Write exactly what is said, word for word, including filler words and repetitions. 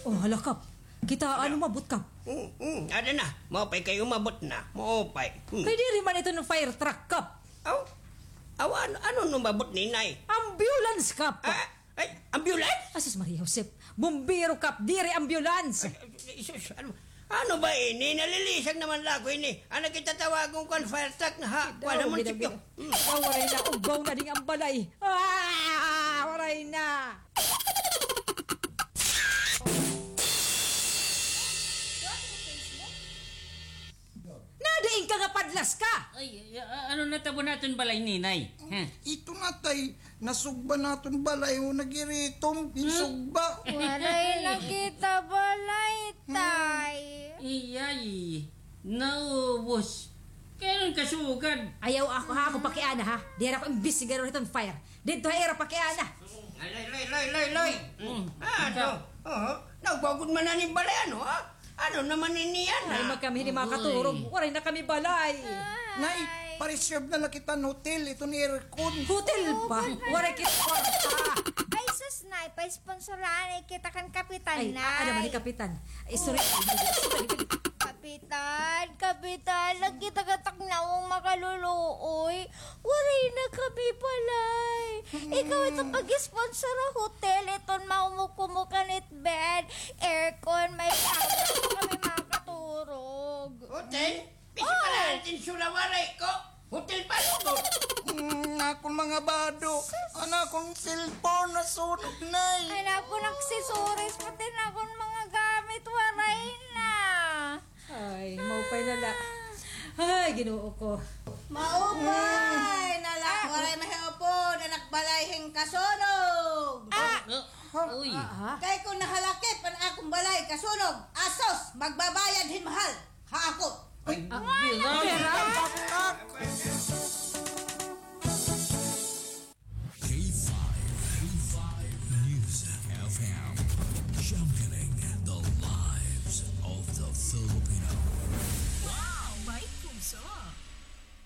Oh, hala, Kap. Kita, ano, umabot, Kap? Hmm, hmm, ada na. Maupay kay umabot na. Maupay. Hmm. Kay diri man iton fire truck, Kap. Aw? Aw, ano, ano umabot, Ninay? Ambulance, Kap. Ah, ay, ambulance? Asus Maria Josep. Bumbero, Kap. Diri ambulance. Ay, ay, sus, ano, ano ba ini? Nalilisag naman la ako ini. Ano kita tawagon kon fire truck na ha? Kuan na munisipyo. Hmm. Waray na, ugbaw na ding ambalay. Ah, waray na. Nadiin ka nga padlas ka? Ay, ay, a-, ano natabo naton balay, Ninay? Ha? Ito na, tay. Nasugba naton balay, o, nagiritom, insugba. Waray na kita balay, tay. Iyay, naubos. Kay ano kasugad? Ayaw ako, ha, ako pakiana, ha. Diri ako imbestigador hiton fire. Didto ha ira pakiana. Ay, lay, lay, lay, lay, lay. Mm. Ah, ito. Oo. Naugwa gud man an im balay, ano, ha? Ano naman ini, ana? Ay, magkami, hindi makaturog. Uy. Waray na kami balay. Ay. Nay, pa-reserve na la kita hin hotel, iton aircon. Hotel pa? Waray kita kwarta. Ay, sus, Nay, pa-sponsoran kita kan kapitan, Nay. Ay, ada man ni kapitan. Ay, sorry. Kapitan, kapitan, lagi taga Tacna an makaluluoy. Waray na kami balay. Ikaw ito pag-sponsor ha hotel, iton maumukumukan it bed, aircon, may shower, kami makaturog. Hotel? Bisi pala an tinsula waray ko. Hotel pa lugod. Mm, akon mga bado. An akon cellphone nasunog, Nay. An akon accessories, pati an akon mga gamit, waray na. Ay, maupay na la. Ay, Ginoo ko. Maupay na la. Ah. Waray mahiupod, anak balay hin kasunog. Ah. Ah, uy. Ah, ah. Kay kon nahalakip an akon balay kasunog, asus, magbabayad hin mahal.